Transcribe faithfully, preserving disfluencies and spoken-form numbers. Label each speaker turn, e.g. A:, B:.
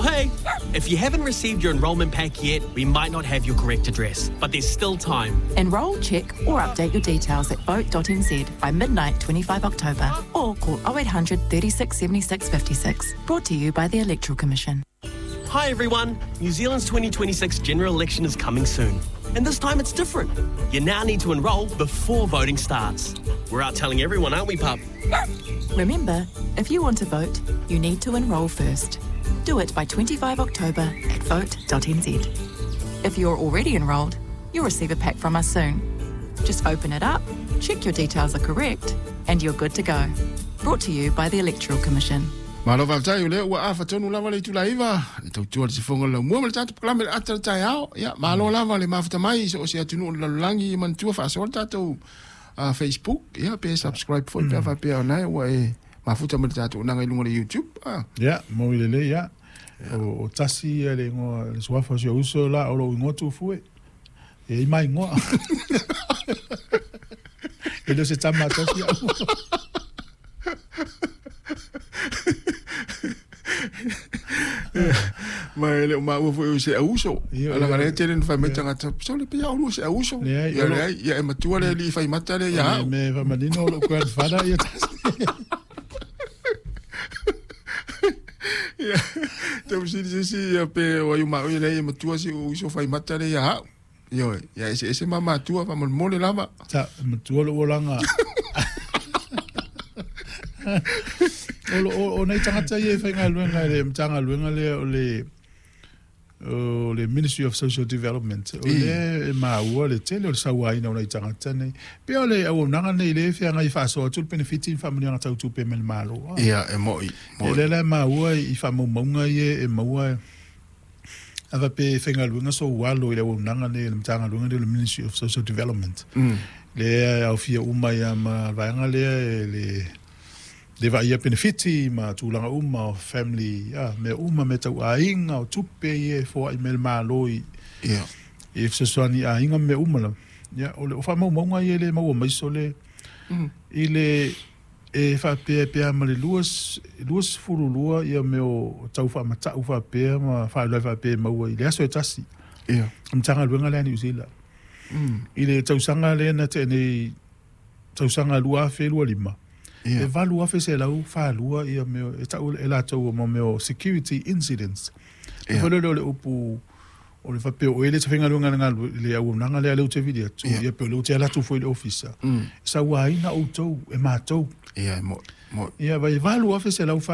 A: hey! If you haven't received your enrolment pack yet, we might not have your correct address, but there's still time.
B: Enrol, check, or update your details at vote dot n z by midnight twenty-five October or call oh eight hundred thirty-six seventy-six fifty-six. Brought to you by the Electoral Commission.
A: Hi everyone! New Zealand's twenty twenty-six general election is coming soon. And this time it's different. You now need to enrol before voting starts. We're out telling everyone, aren't we, pup?
B: Remember, if you want to vote, you need to enrol first. Do it by twenty-five October at vote dot n z. If you're already enrolled, you'll receive a pack from us soon. Just open it up, check your details are correct, and you're good to go. Brought to you by the Electoral Commission.
C: Malo faafetai o lea ua afatonu lava le itulaiva le tautua le sifoga le laumua ma le tatou pakalame le ata le taeao. Ia malo lava le mafuta mai so o se atunuu o le lalolagi e manatua faasoa le tatou uh, Facebook, ia pe subscribe foi pe faapea ona ua e mafuta ma le tatou naga i luga le YouTube. Ah.
D: Ia, mo i lelei, ia. O, o tasi ia le ingoa, le suafa o si o uso la o lou ingoa tufu e. E i mai ingoa. E le o se tama tasi au.
C: Ma ele o maua foi o se auso. Ala ngare tele na fai tangata. So le pia o se auso. Ia le ia e matua le li fai mata le ia.
D: Me fa manino lo grandfather ia tasi.
C: Ia te usi si si ia pe o ai ma o le matua si o iso fai mata le ia. Io ia ese ese mama tua fa mo le lava.
D: Ta matua lo olanga. O o o nei tangata ia e whaingaluenga le mtangaluenga le o le o le Ministry of Social Development o le e maua le tele o le sauaina o nei tangata nei pe o le auaunaga nei le feagai faasoa atu le penefiti i faamanuiaga tautupe mai le Malo.
C: Ia e mo'i
D: e le la maua i faamaumauga ia e maua ava pe whaingaluenga so ualo i le auaunaga nei le mtangaluenga nei o le Ministry of Social Development le aofia uma ia ma vaega lea e le le vaia benefiti ma tulaga uma o family ah me uma me tau aiga o tupe ia foa'i mai le Malo i
C: ia
D: e fesoasoani aiga me uma lava. Ia o le o faamaumauga ia le maua mai so le i le e faapea pea ma le lua lua sefulu lua ia me o tau faamata'u faapea ma faailoa faapea maua i le aso e tasi
C: ia
D: Matagaluega lea Niu Sila i le tausaga lea na te'enei tausaga lua afe lua lima e valu afe se lau whālua ia meo, e tau e lātou o mo meo security incidents. E whale leo le upu o le whapeo o ele te whengaluenga le ngalu le auaunaga lea leu te vili atu, ia pe o leu te alatu foi le ofisa. Sa uaina outou e mātou.
C: Ia, mo, mo.
D: Ia, vai valu afe se lau